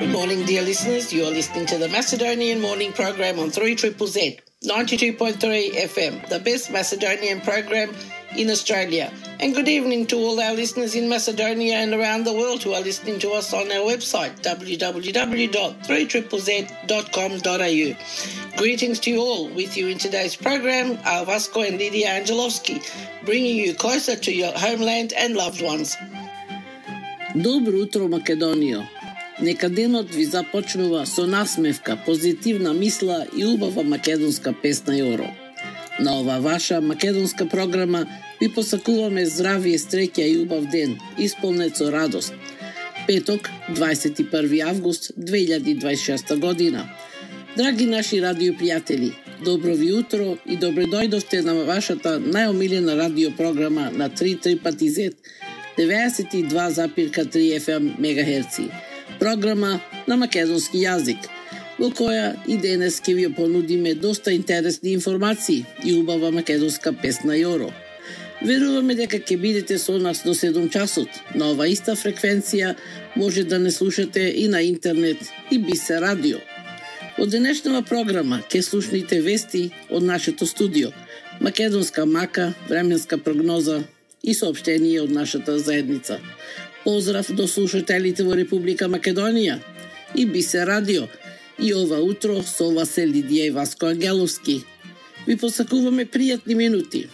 Good morning, dear listeners. You are listening to the Macedonian Morning Program on 3ZZZ, 92.3 FM, the best Macedonian program in Australia. And good evening to all our listeners in Macedonia and around the world who are listening to us on our website, www.3ZZZ.com.au. Greetings to you all. With you in today's program are Vasco and Lydia Angelovski, bringing you closer to your homeland and loved ones. Добро утро, Македонијо! Нека денот ви започнува со насмевка, позитивна мисла и убава македонска песна Јоро. На ова ваша македонска програма ви посакуваме здравие, среќа и убав ден, исполнет со радост. Петок, 21 август 2026 година. Драги наши радиопријатели, добро ви утро и добре дојдовте на вашата најомилена радиопрограма на 3ZZZ 92,3 FM мегахерци. Програма на македонски јазик, во која и денес ќе ви понудиме доста интересни информации и убава македонска песна Јоро. Веруваме дека ќе бидете со нас до 7 часот. На ова иста фреквенција може да не слушате и на интернет и Бисе радио. Од денешнава програма ќе слушнете вести од нашето студио, македонска мака, временска прогноза и соопштение од нашата заедница. Поздрав до слушателите во Република Македонија и Бисе радио. И ова утро со вас се Лидија и Васко Ангеловски. Ви посакуваме пријатни минути.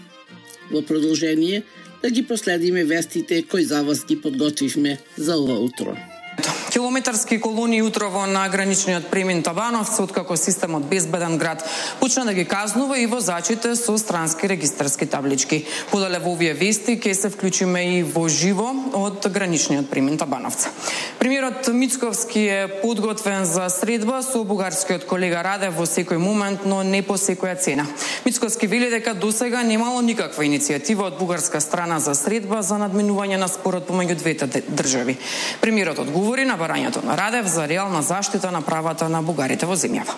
Во продолжение да ги проследиме вестите кои за вас ги подготвивме за ова утро. Километарски колони утрово на граничниот премин Табановци, откако системот Безбеден град почна да ги казнува и возачите со странски регистарски таблички. Подале во овие вести ќе се вклучиме и во живо од граничниот премин Табановци. Премиерот Мицковски е подготвен за средба со бугарскиот колега Радев во секој момент, но не по секоја цена. Мицковски вели дека досега немало никаква иницијатива од бугарска страна за средба за надминување на спорот помеѓу двете држави. Премиерот одговори на барањето на Радев за реална заштита на правата на бугарите во земјава.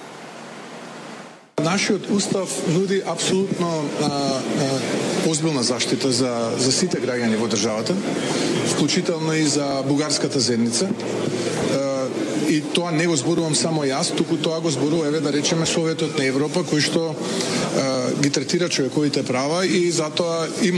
Нашиот устав нуди апсолутно озбилна заштита за сите граѓани во државата, вклучително и за бугарската заедница. И тоа не го зборувам само јас, туку тоа го зборува, да речеме, Советот на Европа, кој што ги третира човековите права и затоа и